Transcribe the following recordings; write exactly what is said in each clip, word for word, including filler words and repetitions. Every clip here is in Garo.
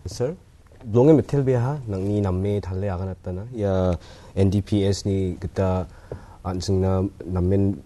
Sir, bilongen mitelbeaha nangni name tale aganatana. Ia N D P S ni gita an·chingna namen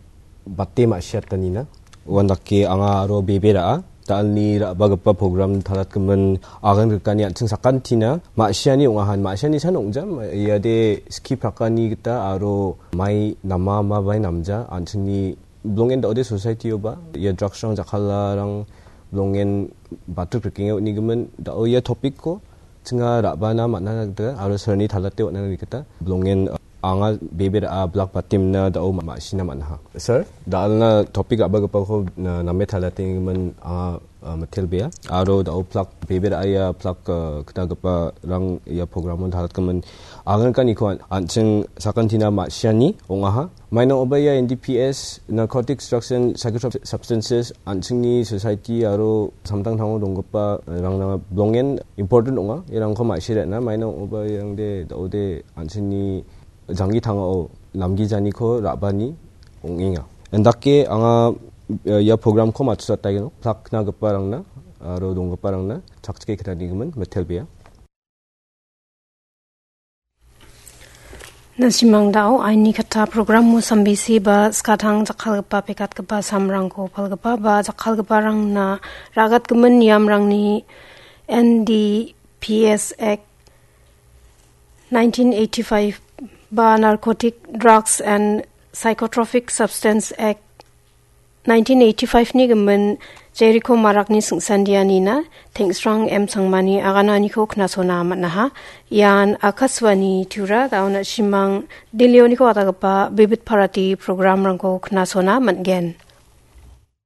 bate ma·siatanina. Uandake anga aro bebe ra·a. Dalni ra·bagipa program talatgimin agan rikani an·ching sakantina ma·siani ong·ahan. Ma·siani san ong·jam. Iade ski prakani gita aro mai nama ma bai namja. An·chingni bilongen da·ode society-oba. Ia drugs-rang jakkalarang bilongen batuk rikenge on·gimin. Da·o ia topic-ko chinga ra·bana man·a gita aro sirni talate on·na gita bilongen, uh, anga bebe ra·a blak batimna da·o ma-, ma·sina man·aha. Sir, dalna topic ra·bagipako, uh, name talatengimin anga, uh, mitelbea. Aro da·o plak bebe ra·a ia plak, uh, knagiparang ia program-o talatgimin agankaniko an-, an·ching sakantina ma·siani ong·aha. Mainong oba ia N D P S, Narcotics, Drugs and Psychotropic Substances, an·chingni society aro samtangtango donggipa, eh, rangna bilongen important ong·a. Irangko ma·sirena, mainong oba iangde da·ode an·chingni janggi tangao namgijaniko ra·bani ong·enga. Indake anga, eh, ia program-ko matchotaigenok, plak knagiparangna aro donggiparangna chakchike knanigimin mitelbea. Nasimang da·o aini kata program-o sambisi ba skatang jakkalgipa pekatgipa samrangko palgipa ba jakkalgiparangna ragatgimin niamrangni N D P S Act nineteen eighty-five ba Narcotic Drugs and Psychotropic Substance Act nineteen eighty-five-ni gimin Jeriko Marakni singsandianina Tengsrang M Sangmani agananiko knasona man·aha. Ian Akashvani Tura da·o nasimang Delhioniko adagipa Bibit Bharati program-rangko knasona man·gen.